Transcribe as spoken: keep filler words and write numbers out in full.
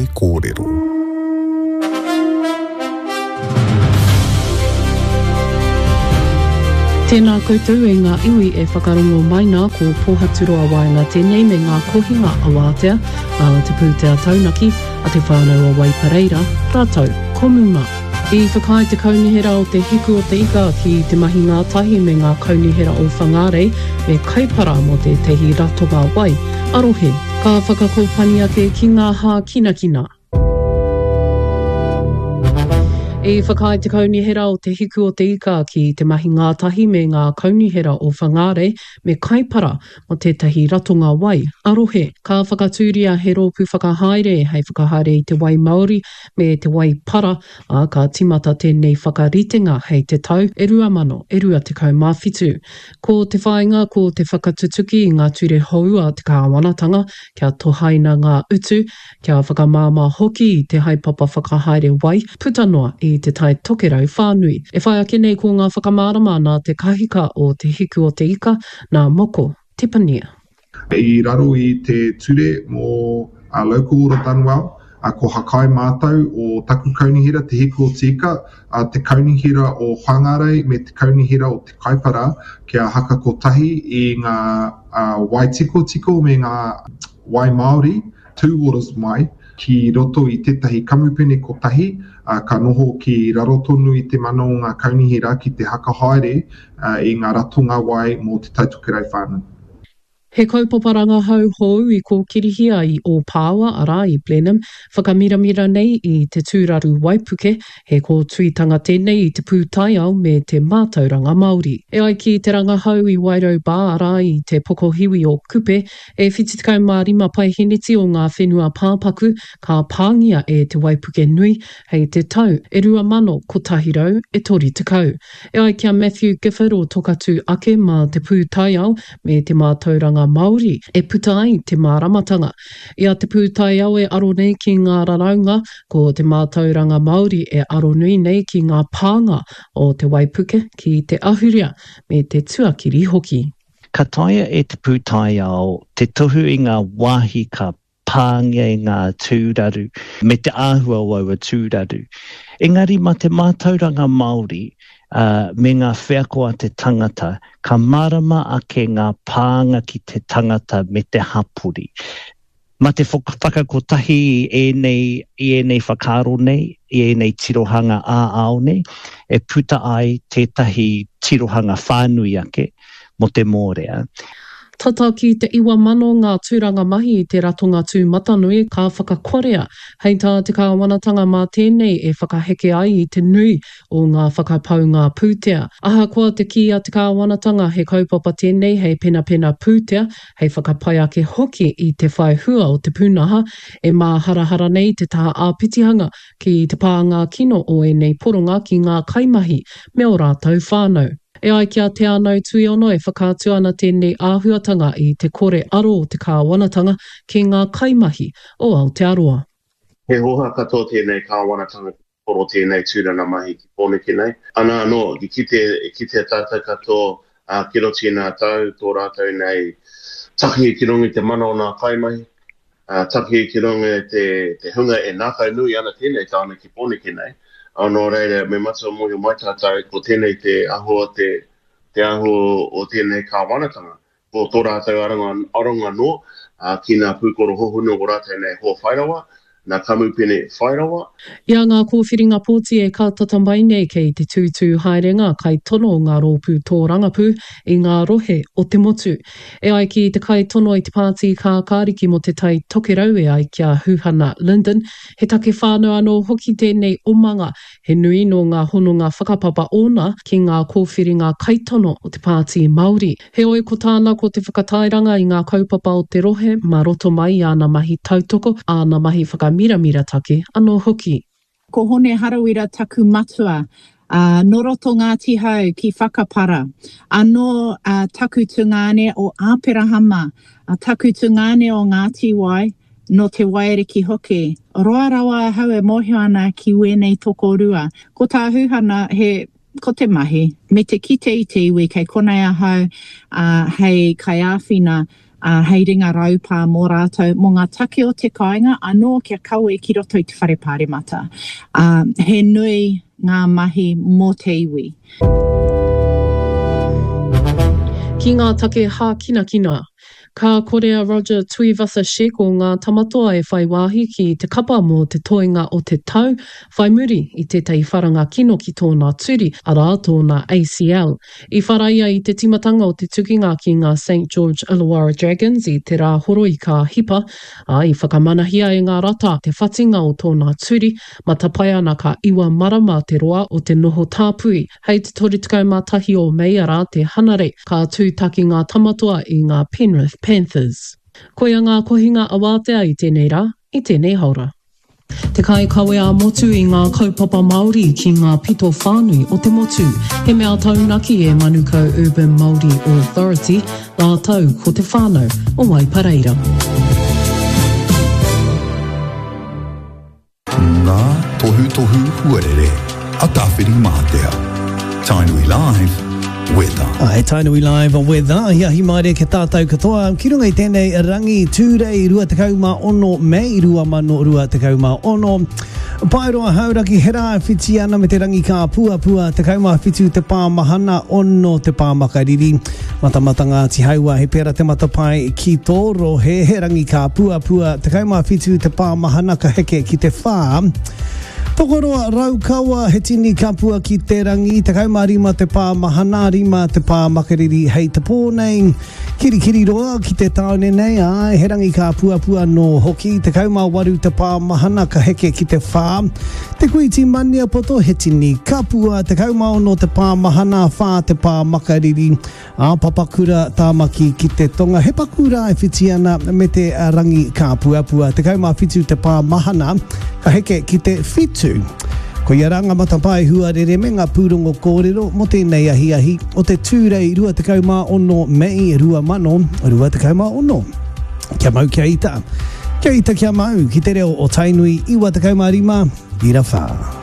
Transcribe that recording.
Hoe Kōrero. Tēnā koutou e ngā iwi e whakarongo mai nā, ko Pōhaturoa Waenga tēnei me ngā kohinga awātea a Te Pūtea Taunaki a Te Whānau o Waipareira, rātou ko Muma. I whakaae te Kaunihera o Te Hiku o Te Ika ki te mahi ngātahi me ngā kaunihera o Whangārei me Kaipara mō tētahi ratonga wai a-rohe. Ka whakakōpani ake ki ngā hākinakina. I whakaae te Kaunihera o Te Hiku o Te Ika ki te mahi ngātahi me ngā kaunihera o Whangārei me Kaipara mō tētahi ratonga wai a-rohe. Ka whakatūria he rōpū whakahaere hei whakahaere i te wai māori me te wai para, ā, ka tīmata tēnei whakaritenga hei te tau e rua mano e rua tekau mā whitu. Ko te whāinga ko te whakatutuki i ngā ture hou a te kāwanatanga kia tohaina ngā utu, kia whakamāmā hoki i te haepapa whakahaere wai puta noa i Te Tai Tokerau whānui. E whai ake nei ko ngā whakamārama nā te kahika o Te Hiku o Te Ika, nā Moko Tepania. I raro i te ture mō Local Order Done Well, ko Hakai mātou o taku kaunihera, Te Hiku o Te Ika, te kaunihera o Whangarei me te kaunihera o Te Kaipara kia haka kotahi i ngā wai tikotiko me ngā wai Māori, two waters mai, ki roto i tētahi kamupene kotahi, ka noho ki raro tonu i te mana o ngā kaunihera ki te haka haere i ngā ratonga wai mō Te Tai Tokerau whānui. He kaupapa rangahau hou i kōkirihia i Ōpāwa, arā, i Blenheim, whakamiramira nei i te tūraru waipuke, he kōtuitanga tēnei i te pūtaiao me te mātauranga Māori. E ai ki te rangahau i Wairau Bar, arā, i te pokohiwi o Kupe, e whitu tekau mā rima paeheneti o ngā whenua pāpaku ka pāngia e te waipuke nui hei te tau e rua mano kotahi rau e toru tekau. E ai ki a Matthew Gifford o Tokatū Ake mā te pūtaiao me te mātauranga Māori e puta ai te māramatanga. I a te pūtaiao e aro nei ki ngā raraunga, ko te mātauranga Māori e aronui nei ki ngā pānga o te waipuke ki te ahurea me te tuakiri hoki. Ka taea e te pūtaiao te tohu i ngā wāhi ka pāngia i ngā tūraru me te āhua o aua tūraru. Engari mā te mātauranga Māori me ngā wheako a te tangata, ka mārama ake ngā pānga ki te tangata me te hapori. Mā te whakakotahi i ēnei, i ēnei whakaaro nei, i ēnei tirohanga ā-ao nei, e puta ai tētahi tirohanga whānui ake mō te mōrea. Tata ki te iwa mano ngā tūranga mahi i te ratonga tūmatanui ka whakakorea. Hei tā te kāwanatanga mā tēnei e whakaheke ai i te nui o ngā whakapaunga pūtea. Ahakoa te kī a te kāwanatanga he kaupapa tēnei hei penapena pūtea, hei whakapai ake hoki i te whai hua o te pūnaha, e māharahara nei te taha āpitihanga ki te pānga kino o ēnei poronga ki ngā kaimahi me ō rātou whānau. E ai ki a Te Anau Tuiono e whakaatu ana tēnei āhuatanga i te kore aro o te kāwanatanga ki ngā kaimahi o Aotearoa. He hōhā katoa tēnei kāwanatanga ki te poro tēnei tūranga mahi ki Pōneke nei. Ana anō, i kite, i kitea tātou katoa, ā, ki roto i ngā tau, tō rātou nei takihi ki runga i te mana o ngā kaimahi, ā, takihi ki runga i te, te hunga e ngākau nui ana tēnei tāone ki Pōneke nei. Ā, nō reira, me matua mōhio mai tātou, ko tēnei te āhua o te, te āhua o tēnei kāwanatanga. Ko tō rātou aronga, aronga noa, ā, ki ngā pūkoro hohonu o rātou nei hoa whairawa, ngā kamupene whairawa. I a ngā kōwhiringa pōti e kātata mai nei kei te tūtū haere ngā kaitono o ngā rōpū tōrangapū i ngā rohe o te motu. E ai ki te kaitono i te Pāti Kākāriki mō Te Tai Tokerau e ai ki a Huhana Lyndon, he take whānau anō hoki tēnei omanga, he nui nō ngā hononga whakapapa ōna ki ngā kōwhiringa kaitono o te Pāti Māori. Heoi, ko tāna ko te whakatairanga i ngā kaupapa o te rohe mā roto mai i āna mahi tautoko, āna mahi whakamiramira take anō hoki. Ko Hone Harawira taku matua, ā, nō roto Ngāti Hau ki Whakapara. Anō taku tungāne o Āperahama, taku tungāne o Ngāti Wai, nō Te Waiariki hoki. Roa rawa ahau e mōhio ana ki wēnei tokorua. Ko tā Huhana, he Ko te mahi, me te kite i te iwi kei konei ahau, ā, hei kaiāwhina ā, hei ringa raupā mō rātou, mō ngā take o te kāinga anō kia kawe ki roto i te whare pāremata. Ā, he nui ngā mahi mō te iwi. Ki ngā take hākinakina. Ka kore a Roger Tuivasa-Sheck o Ngā Tamatoa e whai wāhi ki te kapa mō te toenga o te tau, whai muri i tētahi wharanga kino ki tōna turi, arā, tōna ACL. I whara ia i te tīmatanga o te tukinga ki ngā Saint George Illawarra Dragons i te Rāhoroi ka hipa, ā, i whakamanahia e ngā rata te whatinga o tōna turi, matapae ana ka iwa marama te roa o te noho tāpui. Hei te toru tekau mā tahi o Mei arā te Hanarei, ka tūtaki ngā Tamatoa i ngā Penrith Panthers. Koia ngā kohinga awātea i tēnei rā, i tēnei haora. Te kaikawe ā-motu i ngā kaupapa Māori ki ngā pito whānui o te motu. He mea taunaki e Manukau Urban Māori Authority rātou ko te whānau o Waipareira. Ngā tohutohu huarere a Tāwhirimātea. Tainui Live, Weather. Ae, Tainui Live, Weather. Ahiahi maere ki tātou katoa. Ki runga i tēnei rangi Tūrei rua tekau mā ono Mei rua mano rua tekau mā ono. Paeroa Hauraki he rā e whiti ana me te rangi kāpuapua, tekau mā whitu te pā mahana, ono te pā makariri. Matamata Ngāti Hauā, he pērā te matapae ki tō rohe, he rangi kāpuapua, tekau mā whitu te pā mahana ka heke ki te whā. Tokoroa Raukawa, he tini kapua ki te rangi, tekau mā rima te pā mahana, rima te pā makariri hei te pō nei. Kirikiriroa ki te tāone nei, āe, he rangi kāpuapua anō hoki, tekau mā waru te pā mahana ka heke ki te whā. Te Kuiti Maniapoto, he tini kapua, tekau mā ono te pā mahana, whā te pā makariri. Ā Papakura, Tāmaki ki te tonga, he paku rā e whiti ana me te rangi kāpuapua. Tekau mā whitu te pā mahana, ka heke ki te whitu. Koia rā ngā matapae huarere me ngā pūrongo kōrero mō tēnei ahiahi o te Tūrei rua tekau mā ono Mei rua mano rua tekau mā ono. Kia mau kia ita, kia ita kia mau ki te reo o Tainui iwa tekau mā rima, ira whā.